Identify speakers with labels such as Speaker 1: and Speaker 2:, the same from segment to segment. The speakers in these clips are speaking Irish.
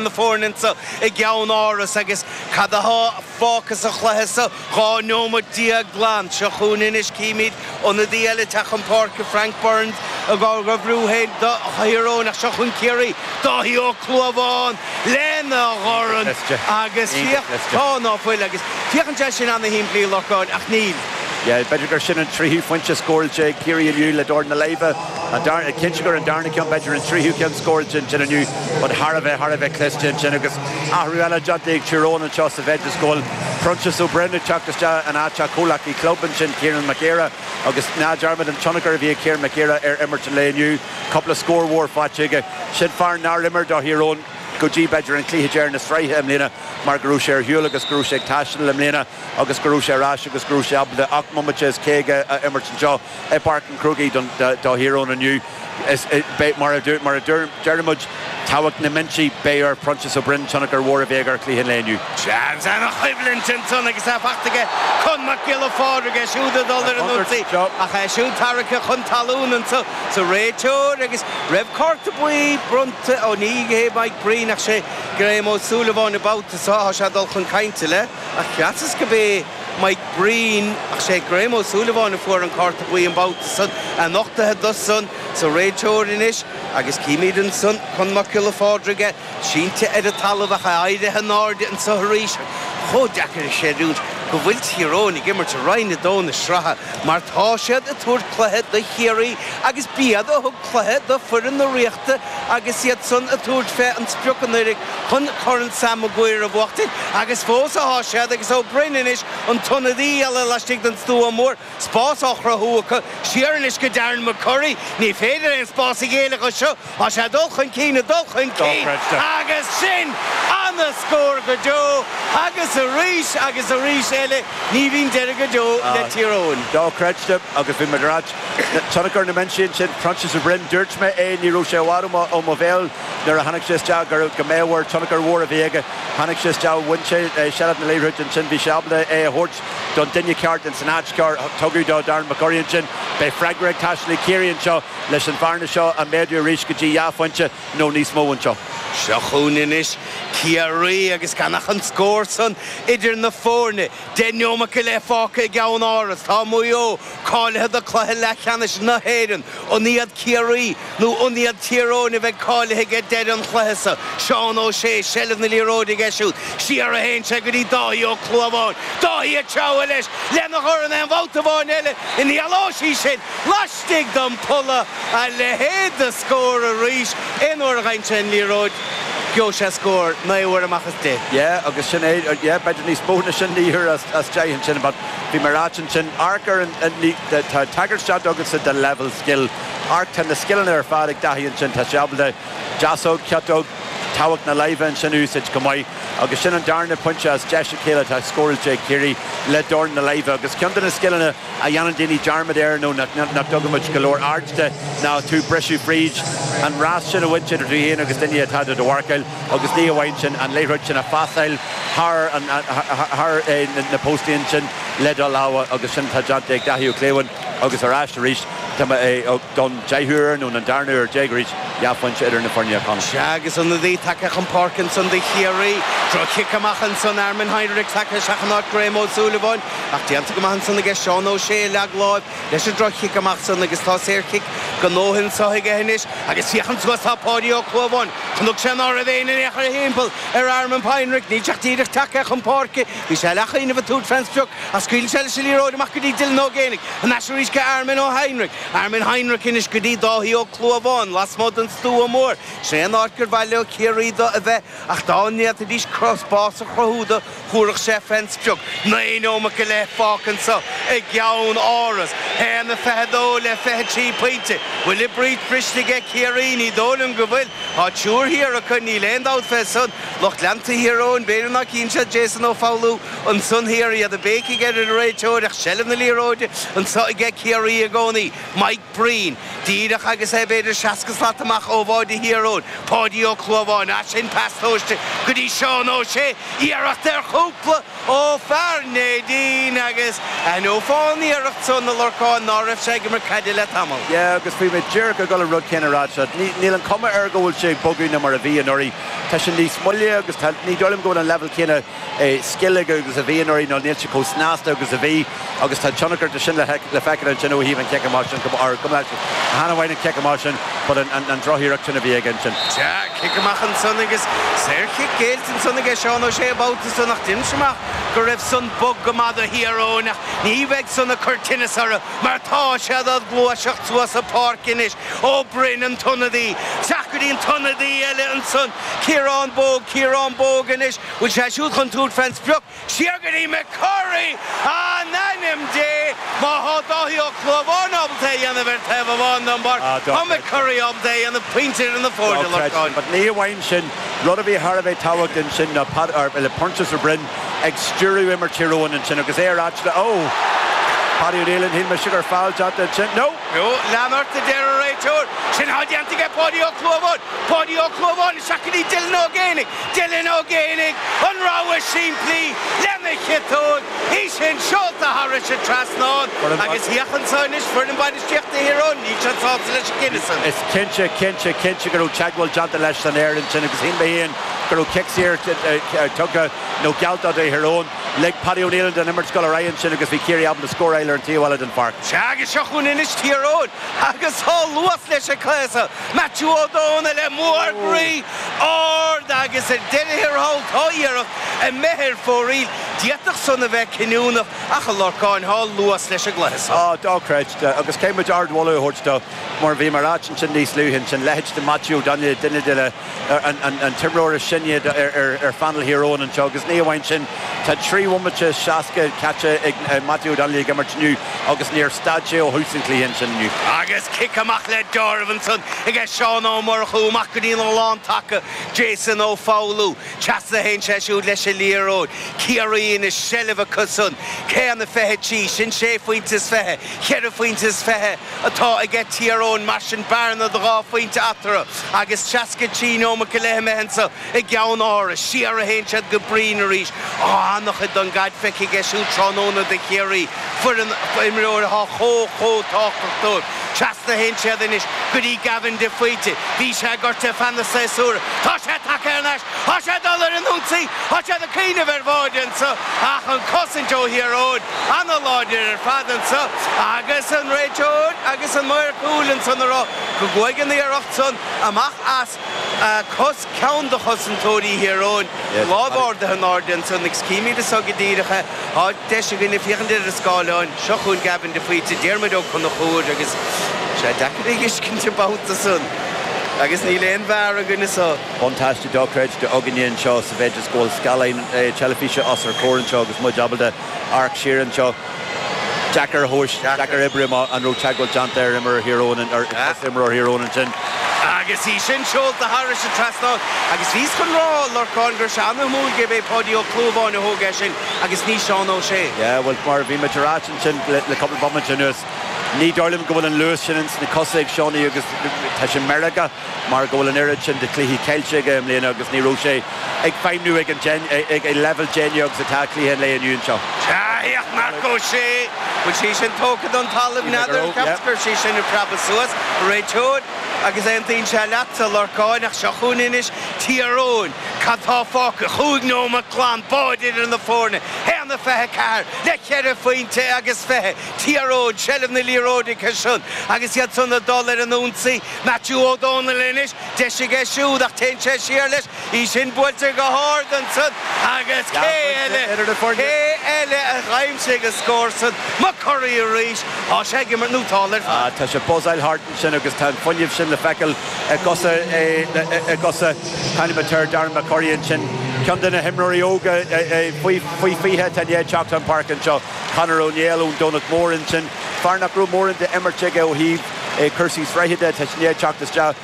Speaker 1: Na foirne anso i gceann-áras agus cad athá fágtha sa chluiche so? 12 neomat glan. Seo chugainn anois címid ionadaí eile ag teacht chun páirce, Frank Burns á bhrú féin do Thír Eoghain ach seo chugainn Ciarraí, Dáithí Ó Clúmháin lena dhorn agus féach, tá ná fuil agus féachann sé sin ana-shimplí a Lorcáin ach níl.
Speaker 2: Yeah, b'fhéidir gur sin an tríú pointe scóráilte ag Ciarraí inniu le dorn na láimhe. An darna, cinnte gur an darna ceann, b'fhéidir an tríú ceann scóráilte ansin inniu, but thar a bheith, thar a bheith cliste ansin agus athrú eile déanta ag Tír Eoghain anseo sa mhéid is go bhfuil Proinsias Ó Broin ag teacht isteach in áit a chomhleacaí club ansin, Kieran McGeara, agus ná dearmad an tionchar a bhí ag Kieran McGeara ar imirt an lae inniu, cúpla scór mhór faighte aige. Sin fear nár imir do Thír Eoghain go dtí b'fhéidir an cluiche deireadh na sraithe i mbliana mar go raibh sé ar shiúl agus go raibh sé ag taisteal i mbliana agus go raibh sé ar ais agus go raibh sé ábalta 8 mbomaite is 50 a imirt anseo. I bPáirc an Chrócaigh do Thír Eoghain inniu. Beidh, mar a deir muid, tábhacht na mbinsí, beidh ar Phroinsias Ó Broin tionchar mhór a bheith aige ar chluiche an lae inniu.
Speaker 1: Seans, ana-choimhlint ansan agus é faighte aige Con Mac Giolla Phádraig, é siúd ag dul ar an ionsaí ach é siúd tarraicthe chun talún anso sa réiteoir agus raibh cárta buí bronnta, ó ní hé Mike Breen ach sé Graham Ó Súilleabháin an babhta seo, tá sé ag dul chun cainte le, ach cheapas go b'é Mike Breen, ach sé Graham Ó Súilleabháin a fuair an cárta buí an babhta san, é nochtaithe do san sa réiteoir anois agus címid ansan Con Mac Giolla Phádraig é sínte ar an talamh ach é éirithe in airde anso arís. Chomh deacair a chreidiúint go bhfuil Tír Eoghain ag imirt i Roinn 2 na sraithe mar tá siad ag tabhairt cluiche do Chiarraí agus b'iad a thug cluiche do foireann na Ríochta agus iad san ag tabhairt fé an sprioc anuraidh chun Corn Sam Maguire a bhuachtaint agus fós athá siad agus Ó Broin anois an t-ionadaí eile laistigh den stua mór, spás á chruthú acu, siar anois go Darren McCurry, ní féidir aon spás a ghéilleadh dó seo, tá sé ag dul chun cinn, ag dul chun cinn agus sin ana-scór go deo agus arís agus arís eile ní bhíonn deireadh go deo le Tír Eoghain.
Speaker 2: Dochreidte agus bhí muid ar ait. Tionchar na mbinsí ansin, Proinsias Ó Broin, dúirt mé é, ní raibh sé i bhfad ó mo bhéal. Nuair a tháinig sé isteach go go mbeadh air tionchar mhór a bhí aige. Tháinig sé isteach, bhain sé seilbh na liathróide ansin, bhí sé ábalta é a thabhairt don duine ceart ins an áit ceart. Tugadh do Darren McCurry ansin. Beidh freagra ag teastáil ag Ciarraí anseo leis an bhearna seo a mhéadú arís go dtí dhá phointe nó níos mó anseo.
Speaker 1: Seo chugainn anois Ciarraí agus gan ach an scór san idir na foirne. 10 neomat go leith fágtha i gceann Áras. Tá Maigh Eo cáilithe do chluiche leathcheannais na hÉireann. An iad Ciarraí nó an iad Tír Eoghain a bheidh cáilithe ag deireadh an chluiche seo? Seán Ó Sé, seilbh na liathróide aige siúd. Siar a théann sé go dtí Dáithí Ó Clúmháin. Dáithí ag treabhadh leis lena dhorn aon bhabhta amháin eile ina dhealóisí sin laistigh den pholla. A leithéid de scór arís. Aon uair a gheibheann sé an liathróid, gheobhaidh sé scór, 9 uair amach as 10.
Speaker 2: Yeah, agus sin é, yeah, b'fhéidir níos mó ná sin, naoi uair as 10 ansin, but bhí mé ag ráit ansin, amharc ar an, tá tagairt déanta agatsa do level skill, amharc, tá na scileanna ar fad ag Dáithí ansin, tá sé ábalta deasóg, ciotóg, tábhacht na láimhe ansin a úsáid go maith agus sin an darna pointe as deis a chéile atá scóráilte ag Ciarraí le dorn na láimhe agus ceann de na scileanna a dhéanann daoine dearmad air nó nach dtugann muid go leor aird de ná tú briseadh fríd an rás sin a bhaint idir tú féin agus duine atá do do mharcáil agus ní amháin sin, an liathróid sin a phasáil thar thar na póstaí ansin le do lámha agus sin atá déanta ag Dáithí Ó Cliabháin agus ar ais arís tá mé don deichiú huair nó an darna huair déag arís dhá phointe idir na foirne a Chonaill.
Speaker 1: Sea agus ionadaí tagtha chun páirce ansan do Chiarraí. Droch-chic amach ansan, Armin Heinrich tagtha isteach in áit Graham Ó Súilleabháin. Ach déanta go maith ansan aige Seán Ó Sé a leag láimh leis an droch-chic amach san agus tá saorchic gnóthaithe anso aige anois agus féachann suas tá Páidí Ó Clúmháin. Chonaic sé ná raibh éinne in aon chor thimpeall ar Armin Heinrich. Níl sé ach díreach tagtha chun páirce. Bhí sé leathchuimhneamh ag tabhairt fén sprioc ach scaoileann sé leis an liathróid amach go dtí Dylan Ó Géibheannaigh. Thar n-ais arís go Armin Ó Heinrich. Armin Heinrich anois go dtí Dáithí Ó Clúmháin lasmuigh den stua mór. Sin é an áit gur mhaith leo Ciarraí do a bheith ach dá ndéanfaidís spás a chruthú do Thabharfadh sé fén sprioc. 9 neomat go leith fágtha anso i gceann Áras. 1-22 le 23 pointe. Bhfuil an brít briste aige Ciarraí? Ní dóigh liom go bhfuil. Tá triúr thiar acu, níl aon dabht fé san. Lucht leanta Thír Eoghain, b'fhéidir ná cíonn siad Jason Ó Foghlú ansan thiar, iad ag béicigh ar an réiteoir ach seilbh na liathróide anso aige Ciarraí i gcónaí. Mike Breen, díreach agus é b'fhéidir 60 slat amach ó bháide Thír Eoghain. Páidí Ó Clúmháin, as sin pas tomhaiste go dtí Seán Ó Sé, iarracht ar chúpla ó fear Neidín agus aithneofá an iarracht san, a Lorcáin, ná raibh sé ag imirt caide le tamall.
Speaker 2: Yeah agus bhí mé díreach ag dul an rud céanna a rá seo. Níl an cuma air go bhfuil sé ag bogadh ná mar a bhí anuraidh. Tá sé níos moille agus tá, ní dóigh liom go bhfuil an leibhéal céanna scil aige agus a bhí anuraidh nó níl sé chomh snasta agus a bhí agus tá tionchar de sin le feiceáil ansin ó thaobh an chic amach sin, or go mbeadh chan amháin an cic amach sin but an drochiarracht sin a bhí aige ansin.
Speaker 1: Sea, cic amach ansan agus saorchic géillte ansan aige Seán Ó Sé an babhta san ach deirimse amach go raibh san bog go maith do Thír Eoghain ach ní bheidh san ag cur tinneas orthu mar tá siad ag gluaiseacht suas an pháirc anois. Ó Broin an t-ionadaí, isteach go dtí an t-ionadaí eile ansan, Ciarán Bogue, Ciarán Bogue anois. Bhfuil sé siúd chun tabhairt fén sprioc? Siar go dtí McCurry! In ainm Dé! Má thá Dáithí Ó Clúmháin ábalta é a dhéanamh ar taobh amháin den bpáirc, tá McCurry ábalta é a dhéanamh pointe idir na foirne, Lorcán.
Speaker 2: But ní amháin sin, rud a bhí thar a bheith tábhachtach ansin ná Pat, or, le Proinsias Ó Broin ag stiúradh imirt Thír Eoghain ansin agus é ar ais le, oh! Paddy O'Neill, shíl mise gur foul déanta ansin. No!
Speaker 1: No, lean ort a deir an réiteoir. Sin atá déanta aige Páidí Ó Clúmháin. Páidí Ó Clúmháin isteach go dtí Dylan Ó Géibheannaigh. Dylan Ó Géibheannaigh, an rogha simplí lena chiotóg, í sin seolta thairis an trasnán agus féach anso anois foireann bainistíochta Thír Eoghain, níl siad sásta leis an gcinneadh san.
Speaker 2: Is cinnte, cinnte, cinnte go raibh teagmháil déanta leis san aer ansin agus shíl mé féin go raibh cic saor tugtha nó geallta do Thír Eoghain. Lig Paddy O'Neill den imirt dul ar aghaidh ansin agus bhí Ciarraí ábalta scóráil ar an taobh eile den pháirc.
Speaker 1: Sea agus seo chugainn anois Tír Eoghain agus tá luas leis an gcluiche seo. Maitiú Ó Dónaill amuigh ar groí ard agus ar deireadh thiar thall tá iarracht imithe ar fóraoil. D'fhéadfadh san a bheith cinniúnach ach a Lorcáin tá luas leis an gcluiche seo.
Speaker 2: Á, dochreidte. Agus caithfidh muid ardmholadh a thabhairt dó mar bhí mar áit ansin níos luaithe ansin, leithéid de Maitiú Ó Dónaill, duine de na an t-imreoir is sine ar phainéal Thír Eoghain anseo agus ní amháin sin, tá 3 bhomaite 60 caite ag Maitiú Ó Dónaill ag imirt inniu agus níor stad sé ó thús an chluiche ansin inniu.
Speaker 1: Agus cic amach le deáramh ansan aige Seán Ó Murchú, amach go dtí an lántaca Jason Ó Foghlú. Trasna a théann sé siúd leis an liathróid. Ciarraí ina seilbh acu san. 1:23, sin sé phointe is fiche, cheithre phointe is fiche. atá aige Tír Eoghain, mar sin bearna de dhá phointe eatarthu agus 63 neomat go leith imithe anso i gCeann Áras. Siar a théann siad go Breen arís. Á, an-chuid den gcaid feicthe aige siúd tráthnóna do Chiarraí, foireann, imreoir atá chomh, chomh tábhachtach dóibh. Trasna a théann siad anois go dtí Gavin de Faoite. Bhí sé gortaithe ar feadh na séasúir. Tá sé tagtha thar n-ais. Tá sé ag dul ar an ionsaí. Tá siad ag cuimhneamh ar bháide anso ach an cosaint ó Thír Eoghain ana-láidir ar fad anso agus an réiteoir agus an maor cúil ansan ag rá go gcuaigh an iarracht san amach as cos ceann de chosantóirí Thír Eoghain. Lámh ardaithe in airde ansan agus címid anso go díreach é. Tá deis againne féachaint ar an scáileán. Seo chugainn Gavin de Faoite, Diarmuid Ó Conchúir agus sé deacair a thuiscint an babhta san agus níl aon VAR againn anso.
Speaker 2: Buntáiste dochreidte againne anseo sa mhéid is go bhfuil scáileán teilifíse os ár gcomhair anseo agus muid ábalta amharc siar anseo. Deacair a thomhais, deacair oibriú amach an raibh teagmháil déanta ar imreoir Thír Eoghain, ar chos imreoir Thír Eoghain ansin.
Speaker 1: Agus í sin seolta thairis an trasnán agus bhíos chun rá, a Lorcáin, go raibh sé an-shuimiúil gurb é Páidí Ó Clúmháin a thóg é sin agus ní Seán Ó Sé.
Speaker 2: Yeah, bhuel, mar a bhí muid ag ráit ansin le cúpla bomaite anuas, ní dóigh liom go bhfuil an luas sin ins na cosa ag Seánie agus tá sé meirgeach mar go bhfuil an oiread sin de chluichí caillte aige i mbliana agus ní raibh sé ag feidhmniú ag an ag an leibhéal déine agus atá cluiche an lae inniu anseo.
Speaker 1: Sea, féach Marc Ó Sé, bhfuil sí sin tógtha don talamh n'fheadar, cheapas go raibh sí sin ag preabadh suas, réiteoir, agus aontaíonn sé leatsa, a Lorcáin, ach seo chugainn anois Tír Eoghain, cad tá fágtha, chúig nóiméad glan, báide idir na foirne, 1:24 le ceithre phointe agus fiche, Tír Eoghain, seilbh na liathróide acu san agus iad san ag dul ar an ionsaí. Maitiú Ó Dónaill anois, deis aige siúd ach téann sé siar leis, í sin buailte go hard ansan agus cé eile, cé eile a d'aimsigh an scór san? McCurry arís, tá sé ag imirt nótálta ar fad.
Speaker 2: Tá sé ag buzzáil thart ansin agus tá an fuinneamh sin le feiceáil i gcosa, i gcosa caithfidh ar Darren McCurry ansin, ceann de na himreoirí óga faoi 20 atá i ndiaidh teacht chun páirce anseo, Conor Ó Néill ón Domhnach Mór ansin, fear nach raibh mórán d'imirt aige ó thaobh cúrsaí sraithe de, tá sé i ndiaidh teacht isteach.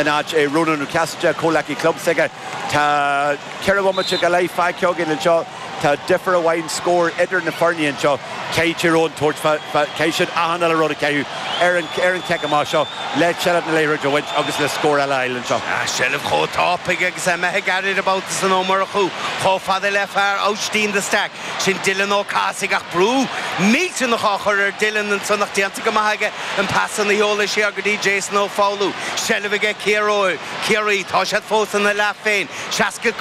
Speaker 2: in áit Rónán Ó Casaide, comhleacaí club s'aige. Tá 4 bhomaite go leith fágtha againn anseo. Tá difear amháin scóir idir na foirne anseo. Caithfidh Tír Eoghain tabhairt fá, caithfidh siad achan uile rud a chaitheamh ar an ar an chic amach seo le seilbh na liathróide a bhaint agus le scór eile a fháil anseo.
Speaker 1: Seilbh chomh tapaidh agus é imithe ag an mbabhta san Ó Murchú chomh fada le fear Aibhistín de Staic. Sin Dylan Ó Cathasaigh ach brú millteanach á chur ar Dylan ansan ach déanta go maith aige an pas san a sheoladh siar go dtí Jason Ó Foghlú. Seilbh aige Ciarraí. Tá siad fós ina leath féin. 65.